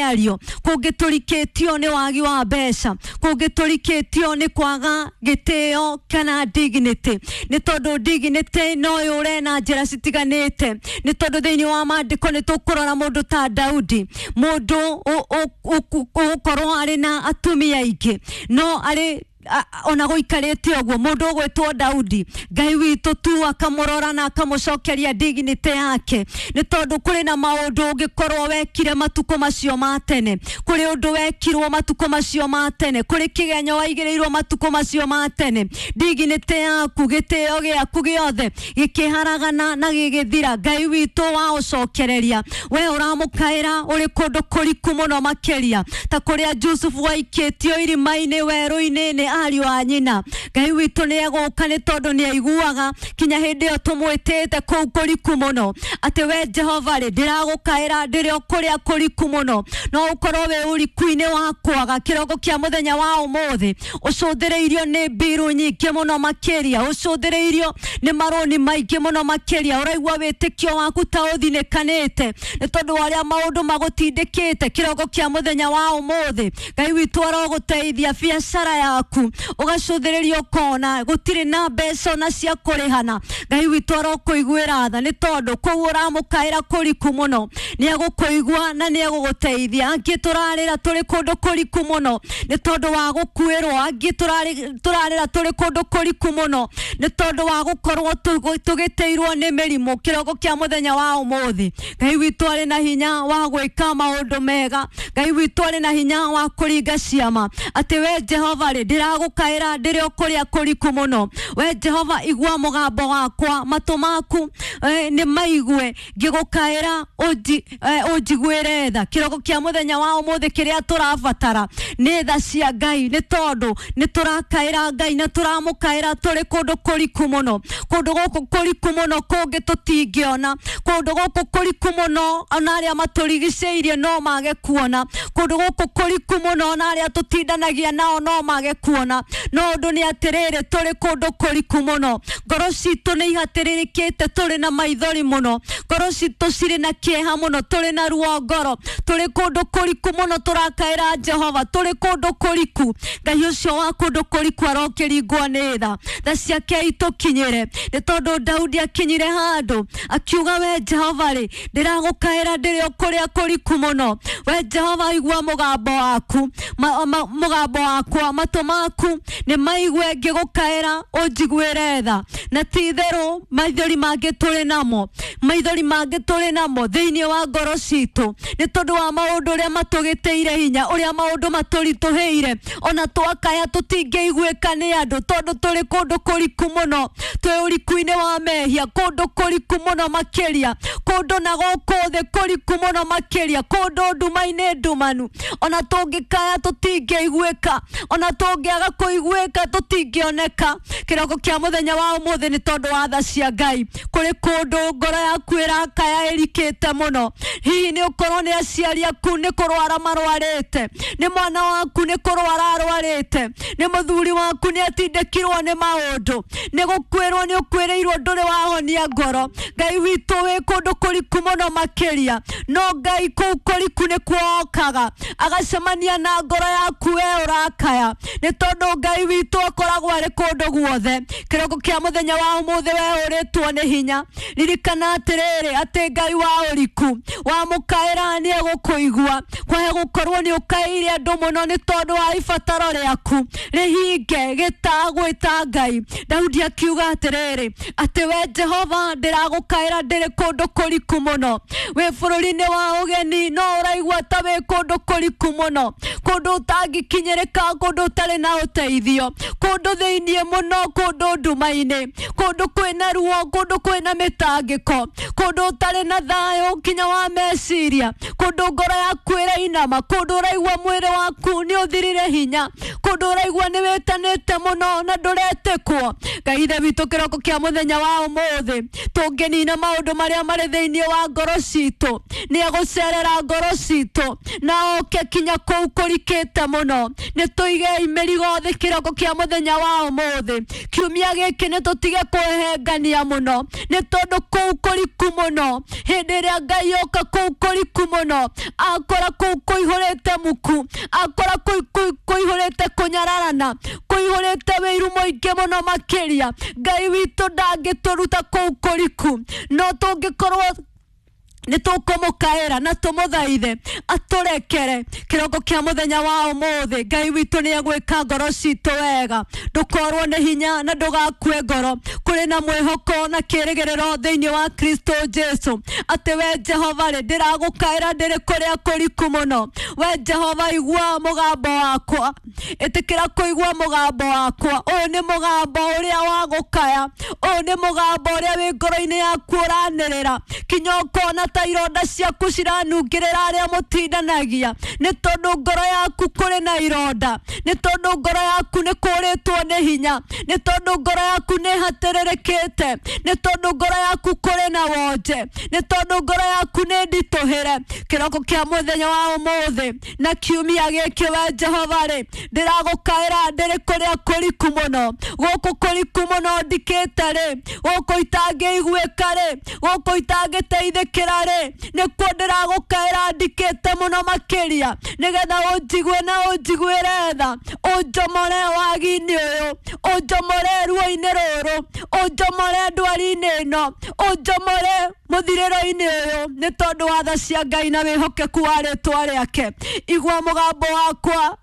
Mĩario kũngĩ tũrikĩtio nĩ wagi wa mbeca, kũngĩ tũrikĩtio nĩ kwaga gĩtĩo kana dignity, nĩ tondũ dignity no yũre na njĩra citiganĩte. Nĩ tondũ thĩinĩ wa maandĩko nĩ tũkũrora mũndũ ta Daudi, mũndũ ũgũkorwo arĩ na atumia aingĩ, no arĩ ona gũikarĩte ũguo mũndũ ũgwĩtwo Daudi, Ngai witũ tu akamũrora na akamũcokeria dignity yake, nĩ tondũ kũrĩ na maũndũ ũngĩkorwo wekire matukũ macio ma tene, kũrĩ ũndũ wekirwo matukũ macio ma tene, kũrĩ kĩgenyo waigĩrĩirwo matukũ macio ma tene. Dignity yaku, gĩtĩo gĩaku gĩothe gĩkĩharagana na gĩgĩthira. Ngai witũ wa ũcokereria, we ũramũkaĩra ũrĩ kũndũ kũriku mũno makĩria ta kũrĩa Jusufu waikĩtio irima-inĩ werũ-inĩ nĩ ariũ a nyina. Ngai witũ nĩ egũka, nĩ tondũ nĩ aiguaga kinya hĩndĩ ĩyo tũmwĩtĩte kũu kũriku mũno, atĩ we Jehova rĩ, ndĩragũkaĩra ndĩrĩ o kũrĩa kũriku mũno. No ũkorwo wĩ ũriku-inĩ wa kwaga kĩroko kĩa mũthenya wa ũmũthĩ, ũcũthĩrĩirio nĩ mbiru nyingĩ mũno makĩria, ũcũthĩrĩirio nĩ marũni maingĩ mũno makĩria, ũraigua wĩtĩkio waku ta ũthinĩkanĩte nĩ tondũ wa ũrĩa maũndũ magũtindĩkĩte. Kĩroko kĩa mũthenya wa ũmũthĩ, Ngai witũ arogũteithia. Biacara yaku ũgacũthĩrĩria ũkona gũtirĩ na mbeca ona cia kũrĩhana, Ngai witũ arokũiguĩra tha, nĩ tondũ kũu ũramũkaĩra kũriku mũno nĩ egũkũigua na nĩ egũgũteithia. Angĩ tũrarĩra tũrĩ kũndũ kũriku mũno nĩ tondũ wa gũkuĩrwo, angĩ tũrarĩra tũrĩ kũndũ kũriku mũno nĩ tondũ wa gũkorwo tũgĩtĩirwo nĩ mĩrimũ. Kĩroko kĩa mũthenya wa ũmũthĩ, Ngai witũ arĩ na hinya wa gwĩka maũndũ mega, Ngai witũ arĩ na hinya wa kũringa ciama, atĩ we Jehova rĩ, ndĩragũkaĩra ndĩrĩ o kũrĩa kũriku mũno. We Jehova, igua mũgambo wakwa, matũ maku nĩ maigue ngĩgũkaĩra, ũnjiguĩre tha. Kĩroko kĩa mũthenya wa ũmũthĩ, kĩrĩa tũrabatara nĩ tha cia Ngai, nĩ tondũ nĩ tũrakaĩra Ngai na tũramũkaĩra tũrĩ kũndũ kũriku mũno, kũndũ gũkũ kũriku mũno kũngĩ tũtingĩona, kũndũ gũkũ kũriku mũno ona arĩa matũrigicĩirie no mage kuona, kũndũ gũkũ kũriku mũno ona arĩa tũtindanagia nao no mage kuona. No ũndũ nĩ atĩrĩrĩ, tũrĩ kũndũ kũriku mũno, ngoro citũ nĩ ihatĩrĩrĩkĩte, tũrĩ na maithori mũno, ngoro citũ cirĩ na kĩeha mũno, tũrĩ na ruo ngoro, tũrĩ kũndũ kũriku mũno tũrakaĩra Jehova, tũrĩ kũndũ kũriku. Ngai ũcio wa kũndũ kũriku arokĩringwo nĩ tha, tha ciake itũkinyĩre, nĩ tondũ Daudi akinyire handũ akiuga, we Jehova rĩ, ndĩragũkaĩra ndĩrĩ o kũrĩa kũriku mũno. We Jehova, igua mũgambo waku, mũgambo wakwa, matũ maku nĩ maigue ngĩgũkaĩra, ũnjiguĩre tha. Na ti itherũ maithori mangĩ tũrĩ namo, maithori mangĩ tũrĩ namo thĩinĩ wa ngoro citũ nĩ tondũ wa maũndũ ũrĩa matũgĩtĩire hinya, ũrĩa maũndũ matũritũhĩire, ona twakaya tũtingĩiguĩka nĩ andũ, tondũ tũrĩ kũndũ kũriku mũno, twĩ ũriku-inĩ wa mehia, kũndũ kũriku mũno makĩria, kũndũ na gũkũ thĩ kũriku mũno makĩria, kũndũ nduma-inĩ ndumanu. Ona tũngĩkaya tũtingĩiguĩka, ona tũngĩaga kũiguĩka tũtingĩoneka. Kĩroko kĩa mũthenya wa ũmũthĩ, nĩ tondũ wa tha cia Ngai, kũrĩ kũndũ ngoro yaku ĩrakaya ĩrikĩte mũno. Hihi nĩ ũkorwo nĩ aciari aku nĩ kũrwara marwarĩte, nĩ mwana waku nĩ kũrwara arwarĩte, nĩ mũthuri waku nĩ atindĩkirwo nĩ maũndũ, nĩ gũkwĩrwo nĩ ũkwĩrĩirwo ndũrĩ wahonia ngoro. Ngai witũ wĩ kũndũ kũriku mũno makĩria, no Ngai kũu kũriku nĩkuo okaga agacemania na ngoro yaku we ũrakaya, nĩ tondũ Ngai witũ akoragwo arĩ kũndũ guothe. Kĩroko kĩa mũthenya wa ũmũthĩ, we ũrĩtwo nĩ hinya, ririkana atĩrĩrĩ, atĩ Ngai wa ũriku wamũkaĩra nĩ egũkũigua. Kwahe gũkorwo nĩ ũkaĩire andũ mũno nĩ tondũ wa ibataro rĩaku rĩhinge gĩtagwĩta Ngai. Daudi akiuga atĩrĩrĩ, atĩ we Jehova, ndĩragũkaĩra ndĩrĩ kũndũ kũriku mũno. Wĩ bũrũri-inĩ wa ũgeni, no ũraigua ta wĩ kũndũ kũriku mũno, kũndũ ũtangĩkinyĩrĩka, kũndũ ũtarĩ na ũteithio, kũndũ thĩiniĩ mũno, kũndũ nduma-inĩ, kũndũ kwĩna ruo, kũndũ kwĩna mĩtangĩko, kũndũ ũtarĩ na thayũ kinya wa meciria, kũndũ ngoro yaku ĩrainama, kũndũ ũraigua mwĩrĩ waku nĩ ũthirire hinya, kũndũ ũraigua nĩ wĩtanĩte mũno na ndũretĩkwo. Ngai Ithe witũ, kĩroko kĩa mũthenya wa ũmũthĩ, tũngĩnina maũndũ marĩa marĩ thĩinĩ wa ngoro citũ, nĩ egũcerera ngoro citũ na Jehova oke kinya kũu kũrikĩte mũno. Nĩ tũigei mĩrigo thĩ kĩroko kĩa mũthenya wa ũmũthĩ. Kiumia gĩkĩ nĩ tũtige kwĩhengania mũno, nĩ tondũ kũu kũriku mũno, hĩndĩ ĩrĩa Ngai oka kũu kũriku mũno, akora kũu kũihũrĩte muku, akora kũu kũihũrĩte kũnyararana, kũihũrĩte wĩiru mũingĩ mũno makĩria. Ngai witũ ndangĩtũruta kũu kũriku, no tũngĩkorwo nĩ tũkũmũkaĩra na tũmũthaithe atũrekere. Kĩroko kĩa mũthenya wa ũmũthĩ Ngai witũ nĩ egwĩka ngoro citũ wega. Ndũkorwo nĩ hinya na ndũgakue ngoro. Kũrĩ na mwĩhoko na kĩĩrĩgĩrĩro thĩinĩ wa Kristo Jesu, atĩ we Jehova rĩ, ndĩragũkaĩra ndĩrĩ kũrĩa kũriku mũno. We Jehova, igua mũgambo wakwa, ĩtĩkĩra kũigua mũgambo wakwa. Ũyũ nĩ mũgambo ũrĩa wa gũkaya, ũyũ nĩ mũgambo ũrĩa wĩ ngoro-inĩ yaku ũranĩrĩra kinya ũkona ta ironda ciaku ciranungĩrĩra arĩa mũtindanagia, nĩ tondũ ngoro yaku kũrĩ na ironda, nĩ tondũ ngoro yaku nĩ kũrĩtwo nĩ hinya, nĩ tondũ ngoro yaku nĩ hatĩrĩrĩkĩte, nĩ tondũ ngoro yaku kũrĩ na wonje, nĩ tondũ ngoro yaku nĩ nditũhĩre. Kĩroko kĩa mũthenya wa ũmũthĩ na kiumia gĩkĩ, we Jehova rĩ, ndĩragũkaĩra ndĩrĩ kũrĩa kũriku mũno, gũkũ kũriku mũno ndikĩte rĩ, gũkũ itangĩiguĩka rĩ, gũkũ itangĩteithĩkĩra rĩ, nĩkuo ndĩragũkaĩra ndikĩte mũno makĩria, nĩgetha ũnjigue na ũnjiguĩre tha, ũnjomore wagi-inĩ ũyũ, ũnjomore ruo-inĩ rũrũ, ũnjomore ndwari-inĩ ĩno, ũnjomore mũthirĩro-inĩ ũyũ, nĩ tondũ wa tha cia Ngai na wĩhokeku wa rĩtwa rĩake. Igua mũgambo wakwa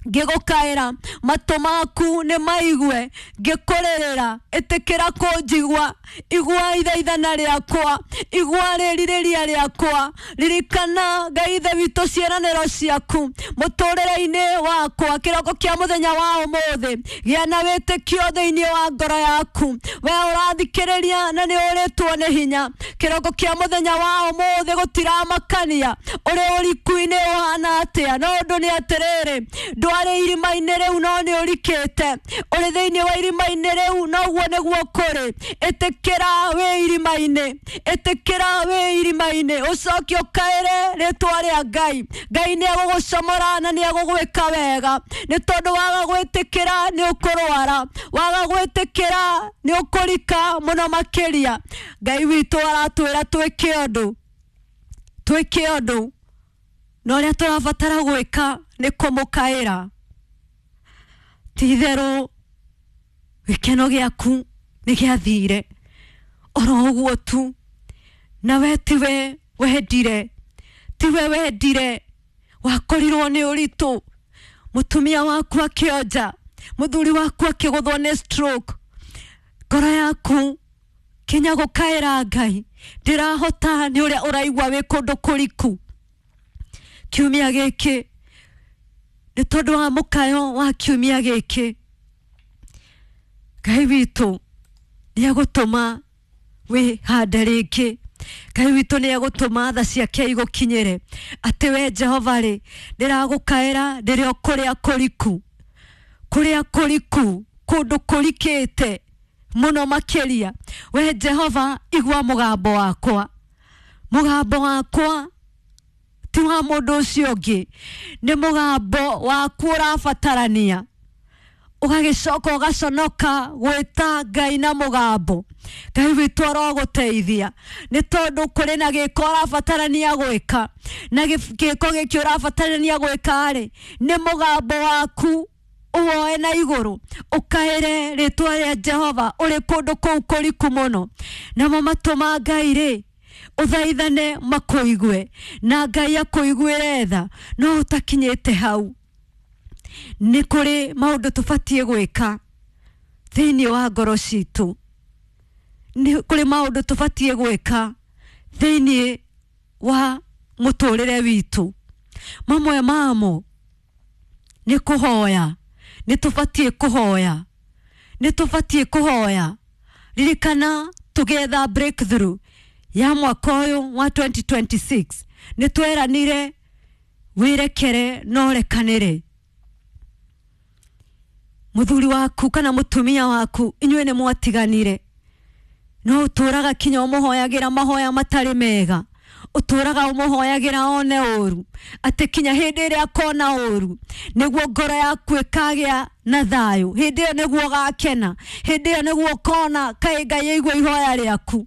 ngĩgũkaĩra, matũ maku nĩ maigue ngĩkũrĩrĩra. Ĩtĩkĩra kũnjigua, igua ithaithana rĩakwa, igua rĩrirĩria rĩakwa. Ririkana Ngai Ithe witũ ciĩranĩro ciaku mũtũrĩre-inĩ wakwa. Kĩroko kĩa mũthenya wa ũmũthĩ, gĩa na wĩtĩkio thĩinĩ wa ngoro yaku. We ũrathikĩrĩria na nĩ ũrĩtwo nĩ hinya, kĩroko kĩa mũthenya wa ũmũthĩ gũtiramakania ũrĩ ũriku-inĩ ũhana atĩa, no ũndũ nĩ atĩrĩrĩ, ndwarĩ irima-inĩ rĩu no nĩ ũrikĩte, ũrĩ thĩinĩ wa irima-inĩ rĩu noguo nĩguo kũrĩ. Ĩtĩkĩra wĩ irima-inĩ, ĩtĩkĩra wĩ irima-inĩ, ũcoke ũkaĩre rĩtwa rĩa Ngai. Ngai nĩ egũgũcomora na nĩ egũgwĩka wega, nĩ tondũ waga gwĩtĩkĩra nĩ ũkũrwara, waga gwĩtĩkĩra nĩ ũkũrika mũno makĩria. Ngai witũ aratwĩra twĩke ũndũ, twĩke ũndũ, na ũrĩa tũrabatara gwĩka nĩ kũmũkaĩra. Ti itherũ gĩkeno gĩaku nĩ gĩathire oro ũguo tu, na we tiwe wendire, tiwe wendire, wakorirwo nĩ ũritũ, mũtumia waku akĩonja, mũthuri waku akĩgũthwo nĩ stroke. Ngoro yaku kinya gũkaĩra Ngai ndĩrahota, nĩ ũrĩa ũraigua wĩ kũndũ kũriku. Kiumia gĩkĩ nĩ tondũ wa mũkayo wa kiumia gĩkĩ, Ngai witũ nĩ egũtũma wĩhande rĩngĩ. Ngai witũ nĩ egũtũma tha ciake igũkinyĩre, atĩ we Jehova rĩ, ndĩragũkaĩra ndĩrĩ o kũrĩa kũriku, kũrĩa kũriku, kũndũ kũrikĩte mũno makĩria. We Jehova, igua mũgambo wakwa, mũgambo wakwa ti wa mũndũ ũcio ũngĩ, nĩ mũgambo waku ũrabatarania. Ũgagĩcoka ũgaconoka gwĩta Ngai na mũgambo. Ngai witũ arogũteithia, nĩ tondũ kũrĩ na gĩko ũrabatarania gwĩka, na gĩko gĩkĩ ũrabatarania gwĩka rĩ, nĩ mũgambo waku ũwoe na igũrũ, ũkaĩre rĩtwa rĩa Jehova ũrĩ kũndũ kũu kũriku mũno. Namo matũ ma Ngai rĩ, ũthaithane makũigue, na Ngai akũiguĩre tha. No ũtakinyĩte hau, nĩ kũrĩ maũndũ tũbatiĩ gwĩka thĩinĩ wa ngoro citũ, nĩ kũrĩ maũndũ tũbatiĩ gwĩka thĩinĩ wa mũtũrĩre witũ. Mamwe mamo nĩ kũhoya, nĩ tũbatiĩ kũhoya, nĩ tũbatiĩ kũhoya. Ririkana tũgĩetha breakthrough ya mwaka ũyũ wa 2026, nĩ tweranire wĩrekere na ũrekanĩre. Mũthuri waku kana mũtumia waku, inyuĩ nĩ mwatiganire, no ũtũraga kinya ũmũhoyagĩra mahoya matarĩ mega, Ũtũraga ũmũhoyagĩra one ũru, atĩ kinya hĩndĩ ĩrĩa akona ũru nĩguo ngoro yaku ĩkagĩa na thayũ, hĩndĩ ĩyo nĩguo ũgakena, hĩndĩ ĩyo nĩguo ũkona kaĩ Ngai aigua ihoya rĩaku.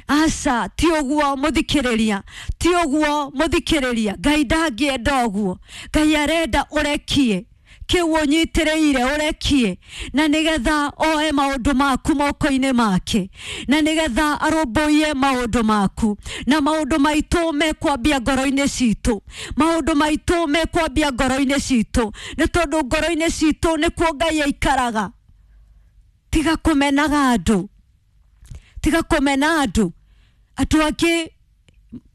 Aca, ti ũguo mũthikĩrĩria, ti ũguo mũthikĩrĩria. Ngai ndangĩenda ũguo. Ngai arenda ũrekie kĩu ũnyitĩrĩire, ũrekie, na nĩgetha oe maũndũ maku moko-inĩ make, na nĩgetha arũmbũiye maũndũ maku, na maũndũ maitũ mekwambia ngoro-inĩ citũ, maũndũ maitũ mekwambia ngoro-inĩ citũ, nĩ tondũ ngoro-inĩ citũ nĩkuo Ngai aikaraga. Tiga kũmenaga andũ, tiga kũmena andũ, andũ angĩ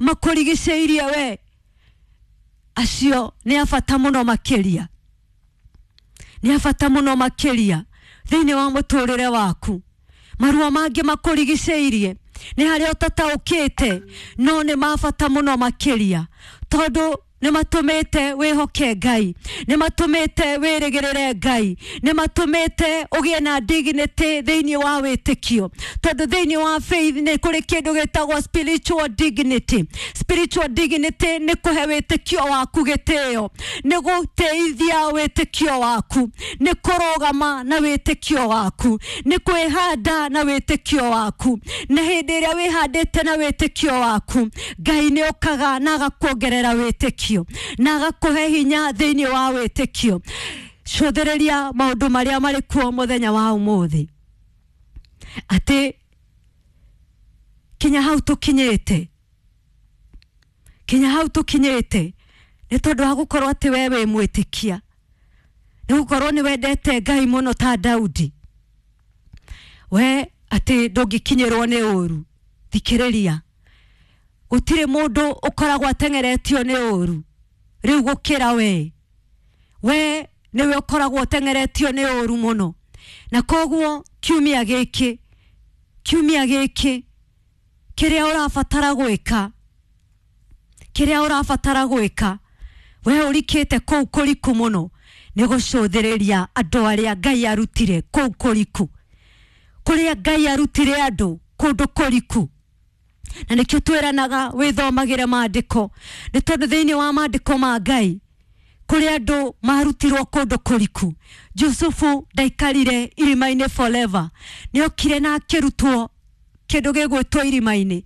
makũrigicĩirie we, acio nĩ a bata mũno makĩria, nĩ a bata mũno makĩria thĩinĩ wa mũtũrĩre waku. Maruo mangĩ makũrigicĩirie nĩ harĩa ũtataũkĩte, no nĩ ma bata mũno makĩria, tondũ nĩ matũmĩte wĩhoke Ngai, nĩ matũmĩte wĩrĩgĩrĩre Ngai, nĩ matũmĩte ũgĩe na dignity thĩinĩ wa wĩtĩkio, tondũ thĩinĩ wa faith nĩ kũrĩ kĩndũ gĩtagwo spiritual dignity. Spiritual dignity nĩ kũhe wĩtĩkio waku gĩtĩo, nĩ gũtĩithia wĩtĩkio waku, nĩ kũrũgama na wĩtĩkio waku, nĩ kwĩhanda na wĩtĩkio waku. Na hĩndĩ ĩrĩa wĩhandĩte na wĩtĩkio waku, Ngai nĩ okaga na agakuongerera wĩtĩkio na agakũhe hinya thĩinĩ wa wĩtĩkio. Cũthĩrĩria maũndũ marĩa marĩ kuo mũthenya wa ũmũthĩ, atĩ kinya hau tũkinyĩte, kinya hau tũkinyĩte nĩ tondũ wa gũkorwo atĩ we wĩ mwĩtĩkia, nĩ gũkorwo nĩ wendete Ngai mũno ta Daudi, we atĩ ndũngĩkinyĩrwo nĩ ũru. Thikĩrĩria, gũtirĩ mũndũ ũkoragwo ateng'eretio nĩ ũru rĩu gũkĩra we. We nĩwe ũkoragwo ũteng'eretio nĩ ũru mũno, na koguo kiumia gĩkĩ, kiumia gĩkĩ kĩrĩa ũrabatara gwĩka, kĩrĩa ũrabatara gwĩka, we ũrikĩte kũu kũriku mũno, nĩ gũcũthĩrĩria andũ arĩa Ngai arutire kũu kũriku, kũrĩa Ngai arutire andũ kũndũ kũriku. Na nĩkĩo twĩranaga wĩthomagĩre maandĩko, nĩ tondũ thĩinĩ wa maandĩko ma Ngai kũrĩ andũ marutirwo kũndũ kũriku. Jusufu ndaikarire irima-inĩ forever, nĩokire na akĩrutwo kĩndũ gĩgwĩtwo irima-inĩ.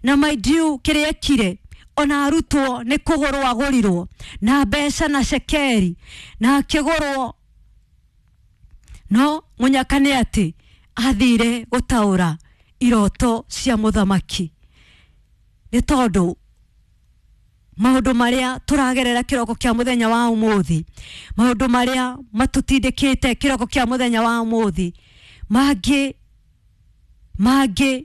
Na mind you, kĩrĩa ekire ona arutwo nĩ kũgũrwo agũrirwo na mbeca na cekeri, na akĩgũrwo, no mũnyaka nĩ atĩ athire gũtaũra iroto cia mũthamaki, nĩ tondũ maũndũ marĩa tũragerera kĩroko kĩa mũthenya wa ũmũthĩ, maũndũ marĩa matũtindĩkĩte kĩroko kĩa mũthenya wa ũmũthĩ, mangĩ mangĩ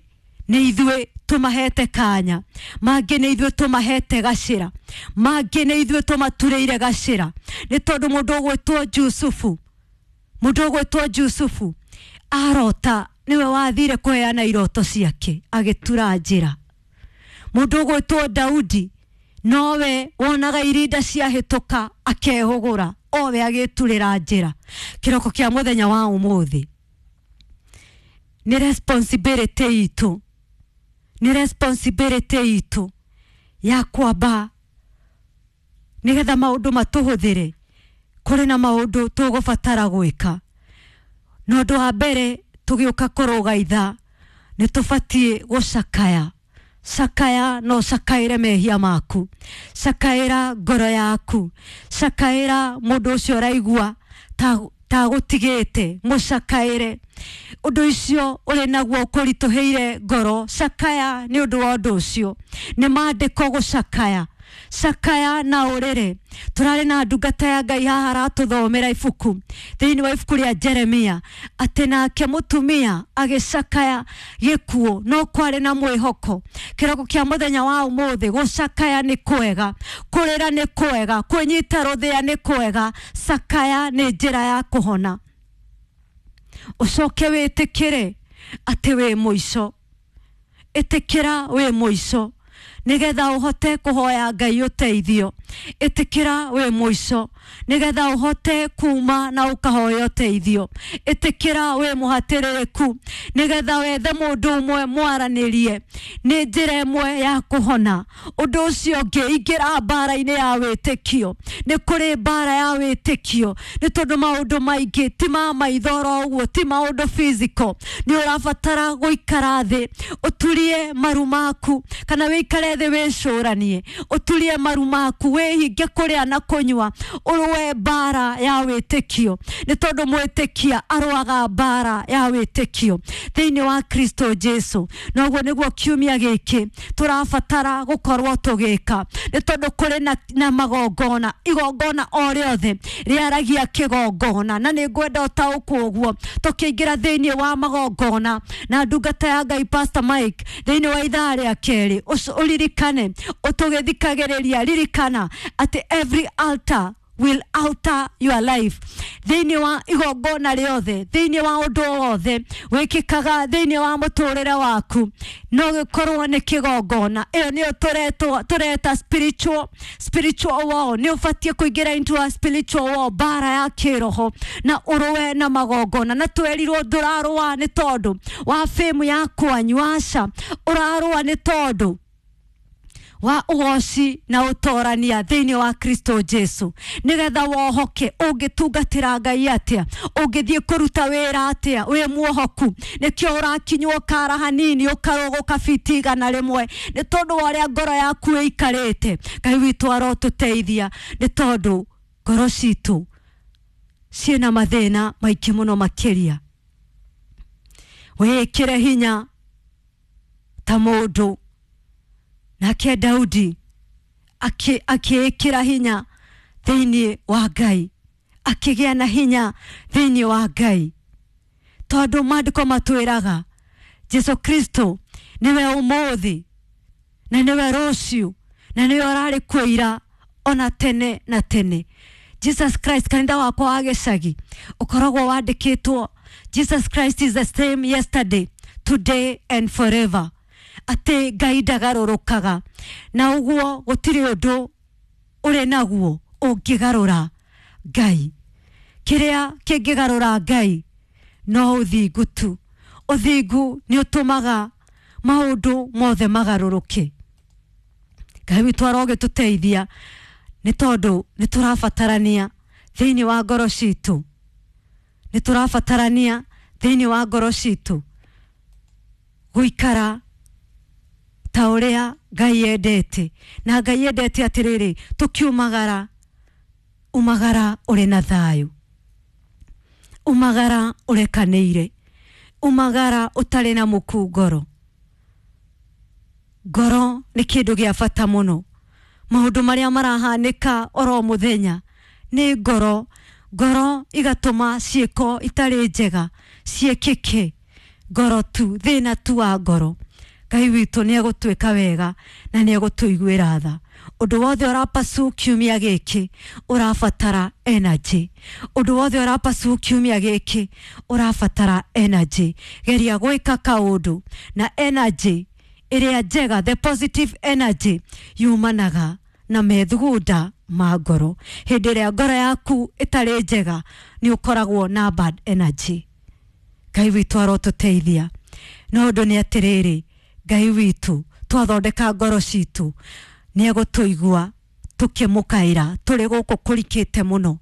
nĩ ithuĩ tũmahete kanya, mangĩ nĩ ithuĩ tũmahete gacĩra, mangĩ nĩ ithuĩ tũmaturĩire gacĩra. Nĩ tondũ mũndũ ũgwĩtwo Jusufu, mũndũ ũgwĩtwo Jusufu arota nĩwe wathire kũheana iroto ciake agĩtura njĩra. Mũndũ ũgwĩtwo Daudi nowe wonaga irinda ciahĩtũka akehũgũra, owe agĩturĩra njĩra. Kĩroko kĩa mũthenya wa ũmũthĩ nĩ responsibility itũ, nĩ responsibility itũ ya kwamba nĩgetha maũndũ matũhũthĩre. Kũrĩ na maũndũ tũgũbatara gwĩka, na ũndũ wa mbere tũgĩũka kũrũga ithaa nĩ tũbatiĩ gũcakaya. Cakaya no cakaĩre mehia maku, cakaĩra ngoro yaku, cakaĩra mũndũ ũcio ũraigua ta gũtigĩte, mũcakaĩre ũndũ ũcio ũrĩ naguo ũkũritũhĩire ngoro. Cakaya nĩ ũndũ wa ũndũ ũcio, nĩ maandĩko gũcakaya. Cakaya na ũrĩre. Tũrarĩ na ndungata ya Ngai haha aratũthomera ibuku thĩinĩ wa ibuku rĩa Jeremia, atĩ nake mũtumia agĩcakaya gĩkuũ no kwarĩ na mwĩhoko. Kĩroko kĩa mũthenya wa ũmũthĩ, gũcakaya nĩ kwega, kũrĩra nĩ kwega, kwĩnyita rũthĩa nĩ kwega. Cakaya nĩ njĩra ya kũhona. Ũcoke wĩtĩkĩre atĩ wĩ mũico, ĩtĩkĩra wĩ mũico, Nigetha uhote kuhoya Ngai uteithio. Itikira wi muico nigetha uhote kuma na ukahoya uteithio. Itikira wi muhatiririku nigetha wethe mundu umwe mwaranirie. Ni njira imwe ya kuhona. Undu ucio ungi ingira mbara-ini ya witikio. Ni kuri mbara ya witikio ni tondu maundu maingi ti ma maitho oro uguo, ti maundu physical. Ni urabatara guikara thi uturie maru maku, kana wikare thi wicuranie, uturie maru maku, wihinge kuria na kunyua, uruwe mbara ya witikio ni tondu mwitikia aruaga mbara ya witikio thiini wa Kristo Jesu. Noguo niguo kiumia giki turabatara gukorwo tugika ni tondu kuri na magongona, igongona o riothe riaragia kigongona, na ni ngwenda utaũkwo ũguo tukiingira thiini wa magongona. Na ndungata ya Ngai Pastor Mike thiini wa ithaa ria keri uririkane utugithikagiriria, ririkana ati every altar will alter your life. Thiini wa igongona riothe, thiini wa undu wothe wikikaga thiini wa muturire waku, no gikorwo ni kigongona. Iyo niyo tureta spiritual war. Ni ubatie kuingira into a spiritual war, bara ya kiroho, na uruwe na magongona. Na twerirwo ndurarua ni tondu wa fame ya kwanyu, aca urarua ni tondu wa ugoci na utorania thiini wa Kristo Jesu, nigetha wohoke. Ungitungatira Ngai atia? Ungithie kuruta wira atia wi muohoku? Nikio urakinywo kara hanini ukaruguka fiti 100 ni tondu wa uria ngoro yaku ikarite. Ngai witu arotuteithia ni tondu ngoro citu ciina mathina maingi muno makiria. Wikire hinya ta mundu. Nake Daudi akiikira hinya thiini wa Ngai, akigĩa na hinya thiini wa Ngai, tondu maandiko matwiraga Jesu Kristo niwe umuthi na niwe ruciu na niwe urari kuo ira ona tene na tene. Jesus Christ, kanitha wakwa wa gĩcagi ukoragwo wandĩkĩtwo Jesus Christ is the same yesterday, today and forever. Ati Ngai ndagarũrũkaga, na ũguo gũtirĩ ũndũ ũrĩ naguo ũngĩgarũra Ngai. Kĩrĩa kĩngĩgarũra Ngai no ũthingu tu. Ũthingu nĩ ũtũmaga maũndũ mothe magarũrũke. Ngai witũ arogĩtũteithia nĩ tondũ nĩ tũrabatarania thĩinĩ wa ngoro citũ, nĩ tũrabatarania thĩinĩ wa ngoro citũ gũikara ta ũrĩa Ngai endete. Na Ngai endete atĩrĩrĩ, tũkiumagara, umagara ũrĩ na thayũ, umagara ũrekanĩire, umagara ũtarĩ na mũku ngoro. Ngoro nĩ kĩndũ gĩa bata mũno. Maũndũ marĩa marahanĩka oro mũthenya nĩ ngoro. Ngoro igatũma ciĩko itarĩ njega ciĩkĩke. Ngoro tu, thĩna tu wa ngoro. Ngai witũ nĩ egũtuĩka wega na nĩ egũtũiguĩra tha. Ũndũ wothe ũrapasu kiumia gĩkĩ ũrabatara energy. Ũndũ wothe ũrapasu kiumia gĩkĩ ũrabatara energy. Geria gwĩka kaũndũ na energy ĩrĩa njega, the positive energy, yumanaga na methugunda ma ngoro. Hĩndĩ ĩrĩa ngoro yaku ĩtarĩ njega nĩ ũkoragwo na bad energy. Ngai witũ arotũteithia. No ũndũ nĩ atĩrĩrĩ, Ngai witũ twathondeka ngoro citũ nĩ egũtũigua tũkĩmũkaĩra tũrĩ gũkũ kũrikĩte mũno,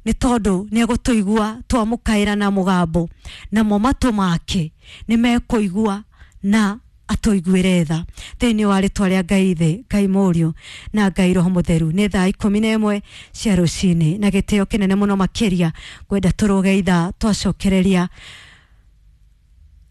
nĩ tondũ nĩ egũtũigua twamũkaĩra na mũgambo, namo matũ make nĩ mekũigua na atũiguĩre tha. Thĩinĩ wa rĩtwa rĩa Ngai Ithe, Ngai Mũriũ na Ngai Roho Mũtheru. Nĩ thaa 11 cia rũcinĩ, na gĩtĩo kĩnene mũno makĩria ngwenda tũrũge ithaa twacokereria.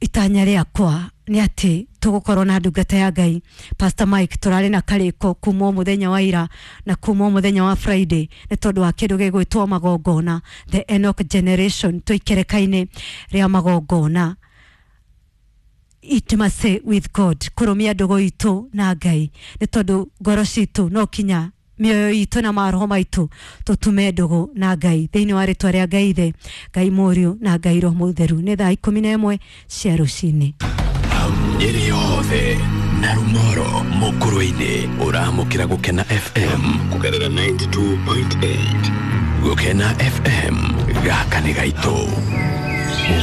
Itanya rĩakwa nĩ atĩ tũgũkorwo na ndungata ya Ngai Pastor Mike. Tũrarĩ na karĩko kuma mũthenya wa ira na kuma mũthenya wa Friday nĩ tondũ wa kĩndũ gĩgwĩtwo magongona, the Enoch generation. Tũikereka-inĩ rĩa magongona, intimacy with God, kũrũmia ndũgũ itũ na Ngai, nĩ tondũ ngoro citũ no kinya mĩoyo itũ na maroho maitũ tũtume ndũgũ na Ngai. Thĩinĩ wa rĩtwa rĩa Ngai Ithe, Ngai Mũriũ na Ngai Roho Mũtheru. Nĩ thaa 11 cia rũcinĩ. Nyeri yothe Narumoro Mukurwe-ini uramukira Gukena FM kugerera 92.8. Gukena FM, gaka nĩ gaitũ.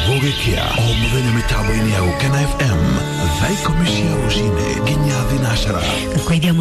Gũgĩkĩa o mũthenya mĩtambo-inĩ ya Gũkena FM thaa 10 cia rũcinĩ nginya 12. Kwaidia.